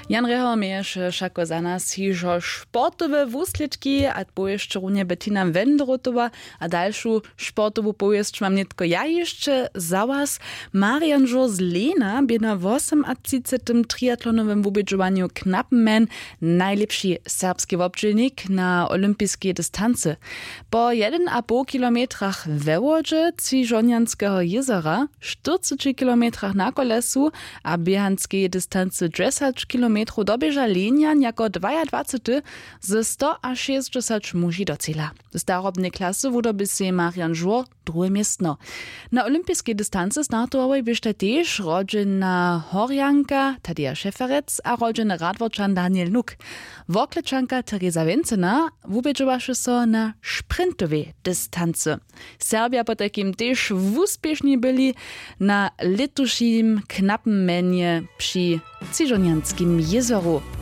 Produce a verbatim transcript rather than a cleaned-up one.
Jan Reho měješe wšako za nas hižo sportowe wuslědki a powěsće runje Bettina Wendrotowa. A dalšu sportowu powěsć mam nětko ja hišće za was. Marian Žur z Lena bě na wosomatřicetym triatlonowym wubědźowanju Knappenman najlěpši serbski wobdźělnik na olympiskej distancy. Po jedyn a poł kilometrach we wodźe třižonjanskeho jězora, štyrceći kilometrach na kolesu a běhanskej distancy dźesać kilometrow doběža Lenjan jako dwajadwacety ze stoašěsćdźesać muži do cela. W starobnej klasy wudobi sej Marian Žur druhe městno. Na olympiskej distancy startowałoj běštaj tež rodźena Horjanka Tadeja Šeferec a rodźeny Radworčan Daniel Nuk. Worklećanka Teresa Wencena wubědźowaše so na sprintowej distancy. Serbja potajkim tež wuspěšni byli na lětušim Knappenmanje při Třižonjanskim jězoru.